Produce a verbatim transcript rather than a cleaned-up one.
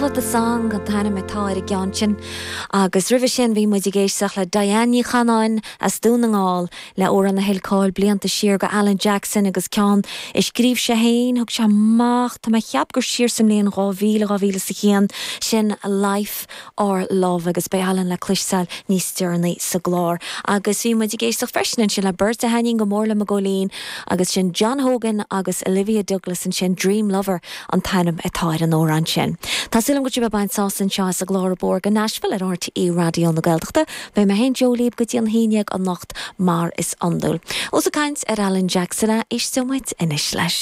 The Song an t-ainm atá ar an gceann sin agus roimhe sin bhí muid ag éisteacht le Diane Ní Chanáin as Dún na nGall le amhrán a thuill cáil blianta siar go Alan Jackson agus ceann a scríobh sé féin thug sé amach tá mé ag ceapadh gur siar sa mbliain dhá mhíle dhá mhíle is a haon sin Life or Love agus beidh Alan le cloisteáil níos deireanaí sa gclár. Agus bhí muid ag éisteacht freisin ansin le beirt a thaitníonn go mór liom i gcónaí agus sin John Hogan agus Olivia Douglas ansin Dream Lover an t-ainm atá ar an amhrán sin. Tá súil agam go bhfuil sibh ag baint sás anseo as an gclár Abór go Nashville ar RTÉ Raidió na Gaeltachta, Beidh mé féin Joe libh go dtí an haon déag anocht mar is iondúil. Ós ag caint ar Alan Jackson a éisteoidh muid anois leis.